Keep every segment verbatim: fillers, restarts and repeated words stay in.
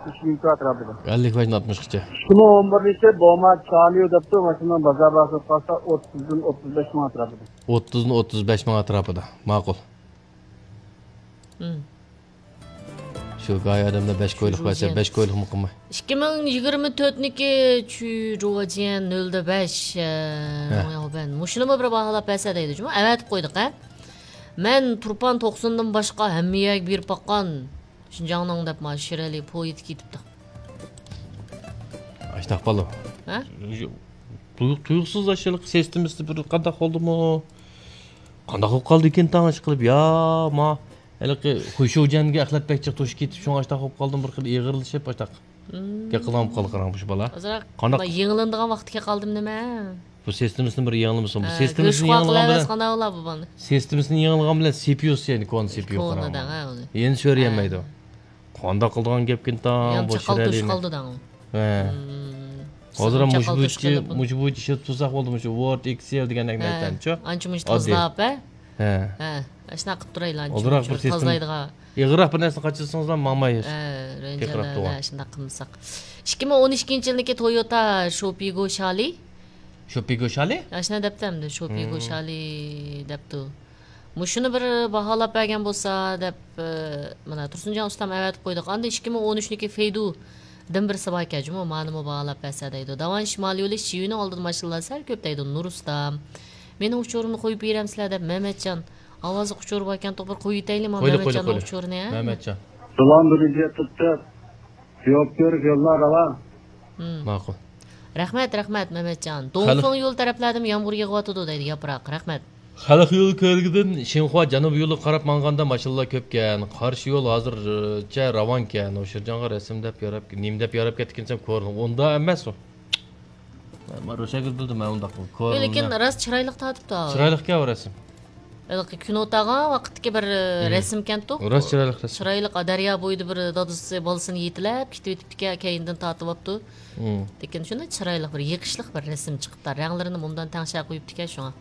ئۈچ مىڭ ئەتراپىدا. ئەللىك بەشتىن ئاتمىشقىچە. ئىككى مىڭ ئون بىرىنچى بوما چاليو دەپتۇ، ماشىنىنىڭ بازار باھاسى قالسا ئوتتۇزدىن ئوتتۇز بەش مىڭ ئەتراپىدا. ئوتتۇزدىن ئوتتۇز بەش مىڭ ئەتراپىدا. ماقۇل. مم. شۇ گاي ئادەملەر بەش كويلۇق بەرسە، بەش كويلۇقمۇ قىلماي. ئىككى مىڭ يىگىرمە تۆتنىكى چۈ جۇۋاجيەن نۆلدە بەش، ئە، ھە. مۇشۇنىمۇ بىر باھالاپ بەرسە دەيدۇ جۇمۇ. ئەۋەتىپ قويدۇق، ھە. مەن تۇرپان توقسۇندىن باشقا ھەممە يەرگە بېرىپ باققان. شىنجاڭنىڭ دەپ ما شىرئەلى پويىتى كېتىپتۇ. ئاشتاق بالۇ. ھە؟ تۇيۇق-، تۇيۇقسىز ئاشۇ سىستېمىسى بىر قانداق بولدىمۇ؟ قانداق بولۇپ قالدىكىن تاڭ ئىشقىلىپ؟ يا ما ھېلىقى خۇيشۇجيەنگە ئەخلەت بەك جىق توشۇپ كېتىپ، شۇڭا ئاشتاق بولۇپ قالدىم، بىر خىل ئېغىرلىشىپ ئاشتاق. مم. گەپ قىلغان قاراڭ مۇشۇ بالا. ئازراق قانداق؟ يېڭىلىنىدىغان ۋاقتىغا كەپ قالدىم نېمە؟ بۇ سىستېمىسىنى بىر يېڭىلىمىسۇن. بۇ ھە، سىستېمىسىنى يېڭىلىغان بىلەن، سىستېمىسىنى يېڭىلىغان بىلەن سىپيۇسى، يەنى كونا سىپيۇ قاراڭ. يەنە سۆرىيەلمەيدۇ. ھە. قانداق قىلىدىغان گەپكىن تاڭ، بۇ چاقال توشۇپ قالدى دەڭ. ھە. مم. ھازىر مۇشۇ بويىچە، مۇشۇ بويىچە ئىشلىتىپ تۇرساق بولدى، مۇشۇ ۋورد، ئېكسېل دېگەندەك نەرسىلەرنىچۇ. ئانچە مۇنچە تازىلاپ، ھە؟ ھە. ھە. ئاشۇنداق قىلىپ تۇرايلى، ئانچە مۇنچە تازىلايدىغان. ئېغىرراق بىر نەرسىنى قاچىلىسىڭىزلا ماڭماي. ھە، رەنجىلەردە شۇنداق قىلمىساق. ئىككى مىڭ ئون ئىككىنچى يىلدىكى تويوتا شوپىگو شالى. شوپىگو شالى؟ ئاشۇنداق دەپتۇ ئەمدى، شوپىگو شالى دەپتۇ. مۇشۇنى بىر باھالاپ بەرگەن بولسا دەپ، ئە، مانا تۇرسۇنجان ئۇستام ئەۋەتىپ قويدۇق. ئاندىن ئىككى مىڭ ئون ئۈچنىكى فېيدۇدىن بىرسى باركەن جۇمۇ، مانىمۇ باھالاپ بەرسە دەيدۇ. داۋان شىمالىي يولى شىۋىنىڭ ئالدىدا ماشىنىلار سەل كۆپ دەيدۇ، نۇرۇستا. مېنىڭ ئۇچۇرۇمنى قويۇپ بېرەمسىلەر دەپ مەمەتجان. ئاۋازلىق ئۇچۇر باركەنتۇق، بىر قويۇۋېتەيلى ما مەمەتجاننىڭ ئۇچۇرىنى، ھە؟ مەمەتجان. سالام، بىرىنچى تۇتتۇق. جاۋاب بېرىپ يوللار راۋان. مم. ماقۇل. رەھمەت، رەھمەت، مەمەتجان. دونفېڭ يول تەرەپلەردىمۇ يامغۇر يېغىۋاتىدۇ دەيدۇ، ياپراق. رەھمەت. خەلق يولى كۆۋرۈكىدىن شىنخۇا جەنۇبىي يولىغا قاراپ ماڭغاندا ماشىنىلار كۆپكەن. قارشى يول ھازىرچە راۋانكەن. ئۇ شىرجانغا رەسىم دەپ ياراپ، نېمە دەپ ياراپ كەتتىكىن دېسەم، كورلىنىپ. ئۇنداق ئەمەس ئۇ. مەن روشەنگۈل بىلدىم، مەن ئۇنداق كورلىنىپ. لېكىن راست چىرايلىق تارتىپتۇ. چىرايلىقكەن ئۇ رەسىم. ھېلىقى كۈن ئوتاغان ۋاقىتتىكى بىر، ھىم، رەسىمكەنتۇ. راست چىرايلىق رەسىم. چىرايلىق، دەريا بويىدا بىر دادىسى بالىسىنى يېتىلەپ كېتىۋېتىپتىكەن، كەينىدىن تارتىۋاپتۇ. ھىم. لېكىن شۇنداق چىرايلىق بىر يېقىشلىق بىر رەسىم چىقىپتۇ. رەڭلىرىنى مۇندان تەڭشەپ قويۇپتىكەن شۇڭا.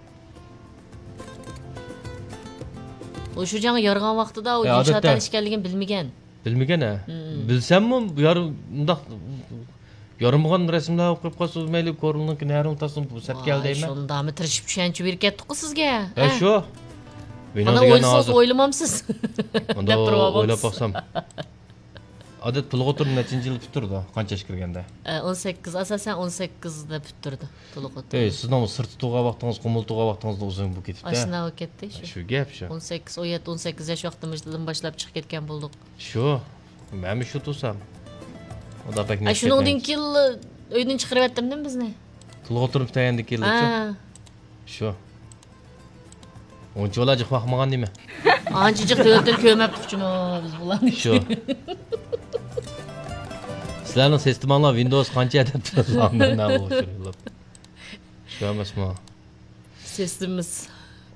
ئۇ شۇ جاڭ يارىغان ۋاقتىدا ئۇ ئە، ئىنشائات ئادەتتە ئىكەنلىكىنى بىلمىگەن. بىلمىگەن ھە. ھىم. بىلسەممۇ يار-، مۇنداق يارىمىغان رەسىملەر قويۇپ قالسىڭىز مەيلى، كورلىنىڭكى نەرىڭ تاسسۇن، بۇ سەتكە ۋاي، دەيمەن. شۇنداقمۇ تىرىشىپ چۈشەنچە بېرىپ كەتتۇققۇ سىزگە. ھە، ھە؟ شۇ. بىنو مانا دېگەن ئويلىسىڭىز ھازىر ئويلىمامسىز؟ ئۇنداق دەپ تۇرۇۋالمامسىز؟ ئويلاپ باقسام. ئادەتتە تولۇق ئوتتۇرا نەچچىنچى يىلى پۈتتۈرىدۇ؟ قانچە ياشقا كىرگەندە؟ ئە، ئون سەككىز، ئاساسەن ئون سەككىزدە پۈتتۈرىدۇ تولۇق ئوتتۇرا. ئەي، سىزنىڭ سىرتتا تۇرغان ۋاقتىڭىز، قۇمۇلدا تۇرغان ۋاقتىڭىزدىن ئۇزۇن بولۇپ كېتىپتۇ. ئاشۇنداق بولۇپ كەتتى شۇ. شۇ گەپ شۇ. ئون سەككىز، ئون يەتتە، ئون سەككىز ياش ۋاقتىمىزدىن باشلاپ چىقىپ كەتكەن بولدۇق. شۇ. مەنمۇ شۇ تۇرسام. ئۇدا بەك ئە، نەچچە شۇنىڭدىن كېيىن ئۆيدىن چىقىرىۋەتتىمدىم بىزنى. تولۇق ئوتتۇرا پۈتتۈرگەندىن كېيىن ھە. شۇ. ئۇنچىۋالا جىق باقمىغان نېمە؟ ئانچە جىق دۆلەتتىن كۆرمەپتۇقچۇمۇ بىز بۇلارنى. شۇ. سىلەرنىڭ سىستېماڭلار ۋىندوۋس قانچە ئەدەپتە؟ شۇ ئەمەسمۇ؟ سىستېمىمىز.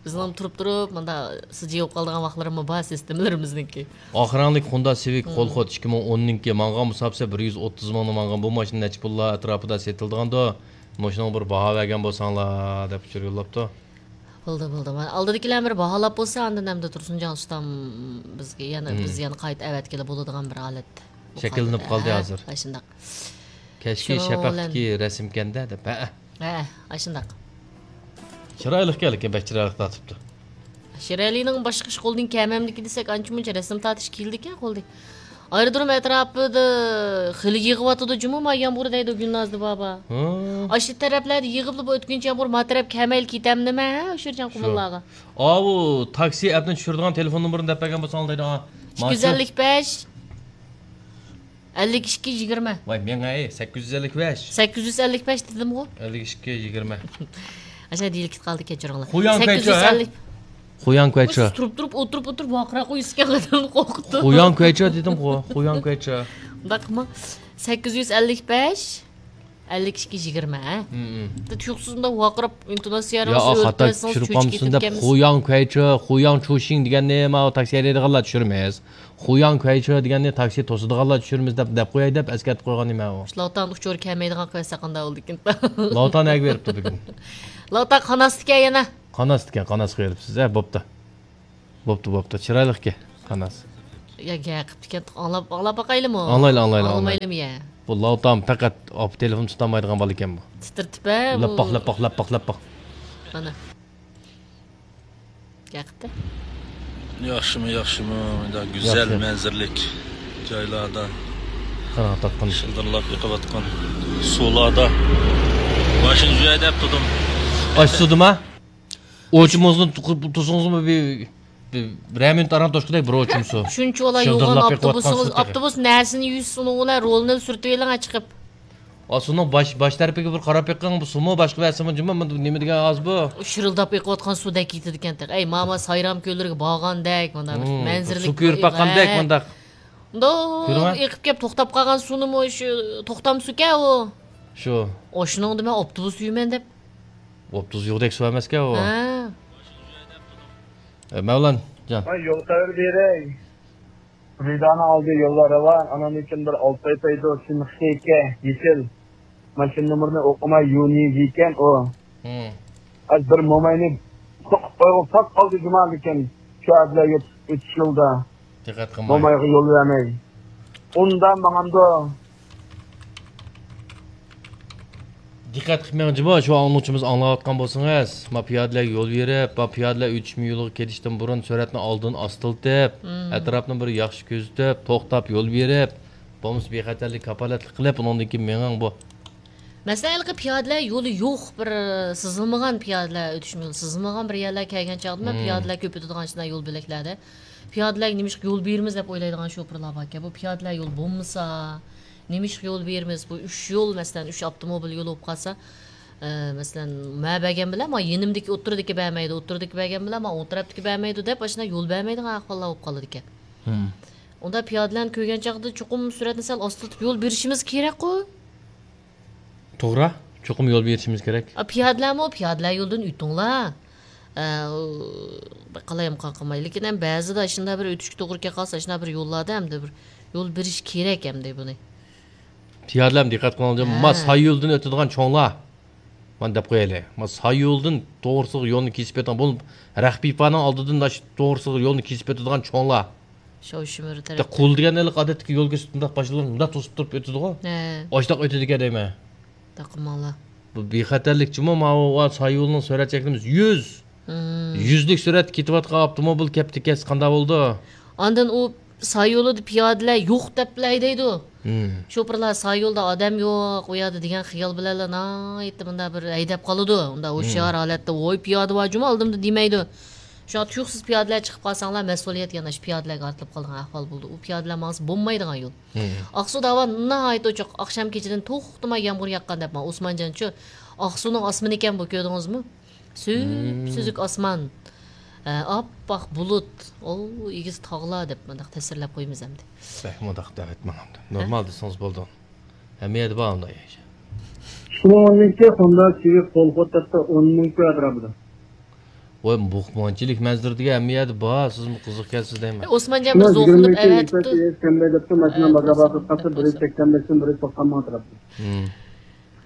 بىزنىڭ تۇرۇپ تۇرۇپ مۇنداق سىجىيىپ قالىدىغان ۋاقىتلىرىمۇ بار سىستېمىلىرىمىزنىڭكى. ئاق رەڭلىك خوندا سىۋىك، مم، قول خوت، ئىككى مىڭ ئوننىڭكى. ماڭغان مۇساپىسى بىر يۈز ئوتتۇز مىڭنى ماڭغان. بۇ ماشىنا نەچچە پۇللار ئەتراپىدا سېتىلىدىغاندۇ؟ مۇشۇنىڭغا بىر باھا بەرگەن بولساڭلار دەپ ئۇچۇر يوللاپتۇ. بولدى، بولدى. مانا ئالدىدىكىلەر بىر باھالاپ بولسا، ئاندىن ئەمدى تۇرسۇنجان ئۇستام بىزگە يەنە، مم، بىز يەنە قايتا ئەۋەتكىلى بولىدىغان بىر ھالەت شەكىللىنىپ قالدى ھە، ھازىر. ئاشۇنداق. كەچكى شۇنىڭ شەپەقتىكى بىلەن رەسىمكەندە دەپ. ھە. ھە، ئاشۇنداق. چىرايلىقكەن، لېكىن بەك چىرايلىق تارتىپتۇ. شىرئەلىنىڭ باشقا ئىش قولىدىن كەلمەمدىكى دېسەك، ئانچە مۇنچە رەسىم تارتىش كېلىدىكەن قولدىن. ئايرودروم ئەتراپىدا خېلى يېغىۋاتىدۇ جۇمۇ، ما يامغۇر دەيدۇ گۈلنازدا بابا. ھە. ئاشۇ تەرەپلەردە يېغىپلا بۇ ئۆتكۈنچى يامغۇر ما تەرەپ كەلمەيلا كېتەمدىمە، ھە، ئۇچۇرجان قۇمۇللارغا. ئاۋۇ تاكسى ئەپنى چۈشۈرىدىغان تېلېفون نومۇرىنى دەپ بەرگەن بولساڭلار دەيدۇ. ئىككى يۈز ئەللىك بەش. ئەللىك ئىككى يىگىرمە. ۋاي مېڭە، ئەي، سەككىز يۈز ئەللىك بەش. سەككىز يۈز ئەللىك بەش دېدىمغۇ؟ ئەللىك ئىككى يىگىرمە. ئاشۇ دېيىلىپ كېتىپ قالدى، كەچۈرۈڭلار. خۇياڭ كەيچۇ، ھە؟ سەككىز يۈز ئەللىك. خۇياڭ كۇەيچۇ. سىز تۇرۇپ تۇرۇپ ئولتۇرۇپ ئولتۇرۇپ ۋارقىراپ قويىسىكەن، ئادەمنى قورقۇتۇپ. خۇياڭ كۇەيچۇ دېدىمغۇ، خۇياڭ كۇەيچۇ. مۇنداق قىلما. سەككىز يۈز ئەللىك بەش. ئەللىك ئىككى يىگىرمە، ھە؟ ھىم، ھىم. تۇيۇقسىزدا ۋارقىراپ ئىنتوناتسىيە يا، خاتا چۈشۈرۈپ قالمىسۇن دەپ، خۇياڭ كۇەيچۇ، خۇياڭ چۇشىڭ دېگەننى ماۋۇ تاكسى ھەيدەيدىغانلار چۈشۈرىمىز. خۇياڭ كۇەيچۇ دېگەننى تاكسى توسىدىغانلار چۈشۈرىمىز دەپ، دەپ قوياي دەپ ئەسكەرتىپ قويغان نېمە ئۇ. لاۋتان ئۇچۇر كەلمەيدىغان قىلىۋەتسە قانداق بولىدىكىن؟ لاۋتان نەگە بېرىپتۇ بۈگۈن؟ لاۋتان قاناستىكەن يەنە. قاناستىكەن، قاناسقا بېرىپسىز، ھە، بوپتۇ. بوپتۇ، بوپتۇ. چىرايلىقكەن، قاناس. يا، گەپ قىپتىكەن، ئاڭلاپ، ئاڭلاپ باقايلىمۇ؟ ئاڭلايلى، ئاڭلايلى، ئاڭلايلى. ئاڭلىمايلىمۇ يا؟ بۇ لاۋتام پەقەت ئاپا تېلېفون تۇتالمايدىغان بالا ئىكەن بۇ. تىترىتىپ ھە، بۇ. لەپپاق، لەپپاق، لەپپاق، لەپپاق. مانا. گەپ قىپتۇ. ياخشىمۇ، ياخشىمۇ؟ مۇنداق گۈزەل ياخشى. مەنزىرىلىك جايلاردا قاراڭ تارتقان. شىلدىرلاپ ئېقىۋاتقان سۇلاردا ماشىنا يۈرەي دەپ تۇردۇم. ئاش سۇدىما؟ ئوچۇمىزنى تۇ-، تۇرسىڭىزمۇ بىر، بىر، بىرەر مىنۇت ئاران توشقۇدەك بىر ئوچۇم سۇ. شۇنچە ئالا يوغان شىلدىرلاپ ئاپتوبۇسىڭىز، ئېقىۋاتقان سۇدەك. ئاپتوبۇس نەرسىنى يۈز، ئۇنىڭ بىلەن رولنى سۈرتۈۋېلىڭ چىقىپ. ئا، سۇنىڭ باش، باش تەرىپىگە بىر قاراپ بېقىڭ، بۇ سۇمۇ باشقا بەرسىمۇ جۇمۇ، بۇ نېمە دېگەن ئاز بۇ؟ شىرىلداپ ئېقىۋاتقان سۇدەك كېتىدىكەن تېخى. ئەي، ماما سايرام كۆللىرىگە بارغاندەك، مۇنداق بىر مەنزىرىلىك سۇ كۆرۈپ باققاندەك، مۇنداق. مۇنداق كۆرۈڭە. ئېقىپ كەپ توختاپ قالغان سۇنىمۇ شۇ توختام سۇكەن ئۇ. شۇ. ئاشۇنىڭدا مەن ئاپتوبۇس يۈرىمەن دەپ. ئاپتوبۇس يوقتەك سۇ ئەمەسكەن ئۇ. ھە. ئە، مەۋلان جان. ھە، يول خەۋىرى بېرەي. رىدانىڭ ئالدى يوللار راۋان، ئانان ئۈچۈن بىر ئالتاي پەيدۇ، سىنىخ شېكە، يېشىل. ماشىنا نومۇرىنى ئوقۇماي، يۇنى ئىكەن ئۇ. ھە. ئاز بىر موماينى سوقۇپ قويغۇپ ساپ قالدى جۇما لېكىن شۇ ئەبلە ئۆتۈش يولدا. دىققەت قىلماي. مومايغا يول بەرمەي. ئۇندا ماڭامدۇ؟ دىققەت قىلىپ مېڭىڭ جۇمۇ، شۇ ئاڭلىغۇچىمىز ئاڭلاۋاتقان بولسىڭىز، ما پىيادىلەرگە يول بېرىپ، ما پىيادىلەر ئۆتۈشمە يولىغا كېلىشتىن بۇرۇن سۈرئەتنى ئالدىن ئاستىلىتىپ، مم. ئەتراپنى بىر ياخشى كۆزىتىپ، توختاپ يول بېرىپ، بولمىسا بىخەتەرلىك كاپالەتلىك قىلىپ، ئۇنىڭدىن كېيىن مېڭىڭ بۇ. مەسىلەن، ھېلىقى پىيادىلەر يولى يوق، بىر سىزىلمىغان پىيادىلەر ئۆتۈشمە يولى، سىزىلمىغان بىر يەرلەرگە كەلگەن چاغدا مەن مم. پىيادىلەر كۆپ ئۆتىدىغان شۇنداق يول بۆلەكلەردە پىيادىلەرگە نېمىشقا يول بېرىمىز دەپ ئويلايدىغان شوپۇرلار باركەن. بۇ پىيادىلەر يول بولمىسا، نېمىشقا يول بېرىمىز؟ بۇ ئۈچ يول، مەسىلەن، ئۈچ ئاپتوموبىل يولى بولۇپ قالسا، ئە، مەسىلەن، مە بەرگەن بىلەن، ما يېنىمدىكى ئوتتۇرىدىكى بەرمەيدۇ، ئوتتۇرىدىكى بەرگەن بىلەن، ما ئوڭ تەرەپتىكى بەرمەيدۇ دەپ، ئاشۇنداق يول بەرمەيدىغان ئەھۋاللار بولۇپ قالىدىكەن. ھىم. ئۇندا پىيادىلەرنى كۆرگەن چاغدا چوقۇم سۈرئەتنى سەل ئاستىلىتىپ يول بېرىشىمىز كېرەكقۇ. توغرا، چوقۇم يول بېرىشىمىز كېرەك. ئا، پىيادىلەرمۇ پىيادىلەر يولىدىن ئۆتۈڭلار. ئە، ئۇ، قالايمىقان قىلماي. لېكىن ھەم بەزىدە ئاشۇنداق بىر ئۆتۈشكە توغرا كەپ قالسا، ئاشۇنداق بىر يوللاردا ئەمدى بىر يول بېرىش كېرەك ئەمدى بۇنى. پىيادىلەرمۇ دىققەت قىلىڭلار، ھە. ما ساي يولدىن ئۆتىدىغان چوڭلار. مانا دەپ قويايلى. ما ساي يولدىن توغرىسىغا يولنى كېسىپ ئۆتىدىغان، بۇ رەخپىيپانىڭ ئالدىدىن ئاشۇ توغرىسىغا يولنى كېسىپ ئۆتىدىغان چوڭلار. شاۋشىمىر تەرەپتە. قۇل دېگەن ھېلىقى ئادەتتىكى يول كۆرسىتىپ مۇنداق باشلىرىنى مۇنداق توسۇپ تۇرۇپ ئۆتىدىغۇ. ھە. ئاشۇنداق ئۆتىدىكەن دەيمەن. داقىماڭلار. بۇ بىخەتەرلىكچىمۇ ماۋۇ ساي يولىنىڭ سۈرئەت چەكلىمىسى يۈز. مم. يۈزلۈك سۈرئەتتە كېتىۋاتقان ئاپتوموبىل كەپتىكەس قانداق بولىدۇ؟ ئاندىن ئۇ ساي يولىدا پىيادىلەر يوق دەپلا ھەيدەيدۇ. مم. شوپۇرلار ساي يولدا ئادەم يوق، ئۇ يەردە دېگەن خىيال بىلەنلا ناھايىتى مۇنداق بىر ھەيدەپ قالىدۇ. ئۇنداق ھوشيار ھالەتتە، ۋوي پىيادە بار جۇمۇ ئالدىمدا دېمەيدۇ. شۇڭا تۇيۇقسىز پىيادىلەر چىقىپ قالساڭلار، مەسئۇلىيەت يەنە شۇ پىيادىلەرگە ئارتىلىپ قالىدىغان ئەھۋال بولىدۇ. ئۇ پىيادىلەر ماڭسا بولمايدىغان يول. مم. ئاقسۇدا ھاۋا ناھايىتى ئوچۇق. ئاقشام كېچىدىن توختىماي يامغۇر ياغقان دەپ ماڭا ئوسمانجان شۇ ئاقسۇنىڭ ئاسمىنى ئىكەن بۇ، كۆردىڭىزمۇ؟ سۈپسۈزۈك ئاسمان. ھە، ئاپئاق بۇلۇت. ئو، ئېگىز تاغلار دەپ مۇنداق تەسۋىرلەپ قويىمىز ئەمدى. بەك مۇنداق دەۋەتمەڭ ئەمدى. ھە؟ نورمال دېسىڭىز بولىدۇ. ھەممە يەردە بار ئۇنداق يەر. شۇنىڭ ئورنىدىكى خوندا چىۋىك قول خوتەتتە ئون مىڭ كوي ئەتراپىدا. ۋاي، بۇ مانچىلىك مەنزىرە دېگەن ھەممە يەردە بار، سىزمۇ قىزىق ئىكەنسىز دەيمەن. ئوسمانجان بىر شۇنىڭ زوقلىنىپ يىگىرمە ئىككى ئەۋەتىپتۇ. يۈز سەكسەن بەش دەپتۇ، ماشىنا ھە، بازار بىر باسقانسا، بىر يۈز سەكسەن بەشتىن بىر يۈز توقسان مىڭ ئەتراپىدا. ھىم.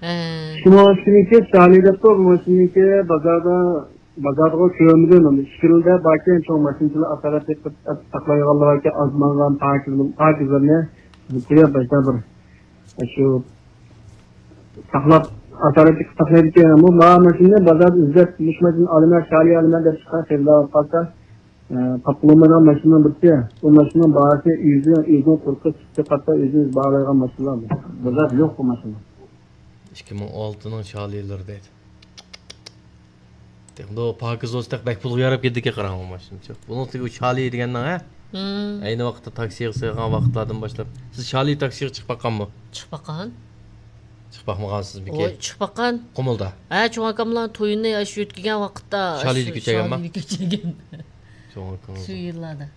ھە. شۇنىڭ ئۈچۈنكى شالى دەپتۇ، بۇ ماشىنىكى بازاردا، بازارغا كۆرمىدىم. ئىككىلىدە باركەن، چوڭ ماشىنىچىلار ئاسارەت ساقلايدىغانلار باركەن، ئاز ماڭغان پاكىزلىرىنى قويۇپ باشتا بىر شۇ ساقلاپ، ئاسارەتلىك ساقلايدىكەن. بۇ ما ماشىنىنى بازاردا ئىزدەپ، مۇشۇ ماشىنىنى ئالىمەن، شالى ئالىمەن دەپ چىققان خېرىدار بولۇپ قالسا، ئە، تاپقىلى بولمايدىغان ماشىنىنىڭ بىرسى. بۇ ماشىنىنىڭ باھاسى ئۆزى، ئۆزىنىڭ تۇرقى، سۈپىتى قاتتا ئۆزىڭىز باھالايدىغان ماشىنىلار بۇ. بازاردا يوق بۇ ماشىنا. ئىككى مىڭ ئالتىنىڭ شالىلىرى دەيدۇ. دېمىدۇ، پاكىز بولسا بەك پۇلغا ياراپ كېتىدىكەن، قاراڭغۇ ماشىنا. بۇنىڭ ئۇ شالى دېگەننىڭ، ھە؟ مم. ئەينى ۋاقىتتا تاكسىغا سىغغان ۋاقىتلاردىن باشلاپ. سىز شالى تاكسىغا چىقىپ باققانمۇ؟ چىقىپ باققان. چىقىپ باقمىغانسىزمىكى؟ ۋوي، چىقىپ باققان. قۇمۇلدا؟ ھە، چوڭ ئاكاملارنىڭ تويىنى ئاشۇ ئۆتكۈزگەن ۋاقىتتا شالىدا ئاشۇ كۆچەرگەنمۇ؟ شالىدا كۆچەرگەن. چوڭ ئاكىڭىز. شۇ يىللاردا.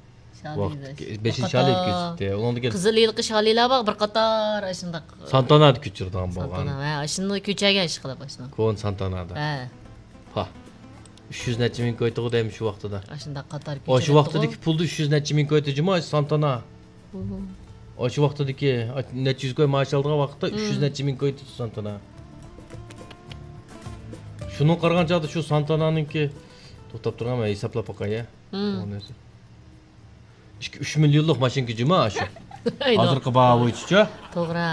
شالى ۋاقىت بەش. بەشىنچى شالىدا كۆچۈپتى. ئۇنىڭدىن كېيىن قىزىل ھېلىقى شالىلار بار، بىر قاتار ئاشۇنداق. سانتانادا كۆچۈرىدىغان بولغان. سانتانا، ھە، ئاشۇنداق كۆچەرگەن ئىشقىلىپ ئاشۇنداق. كونا سانتانادا. ھە. پا. ئۈچ يۈز نەچچە مىڭ كوي تۇغۇ دەيمەن شۇ ۋاقتىدا. ئاشۇنداق قاتار ئاشۇ كۆچۈرەتتىغۇ. ۋاقتىدىكى پۇلدا ئۈچ يۈز نەچچە مىڭ كوي جۇمۇ ئاشۇ سانتانا. ئۇھۇ. ئاشۇ ۋاقتىدىكى نەچچە يۈز كوي مائاش ئالىدىغان ۋاقىتتا ئۈچ يۈز نەچچە مىڭ كوي تۇتتى سانتانا. شۇنىڭغا قارىغان چاغدا شۇ سانتانانىڭكى، توختاپ تۇرغان، مەن ھېسابلاپ باقاي، يا. مم. ئۇ نەرسە. ئىككى ئۈچ مىليونلۇق ماشىنىكى جۇما شۇ. ھازىرقى باھا بويىچىچۇ؟ توغرا.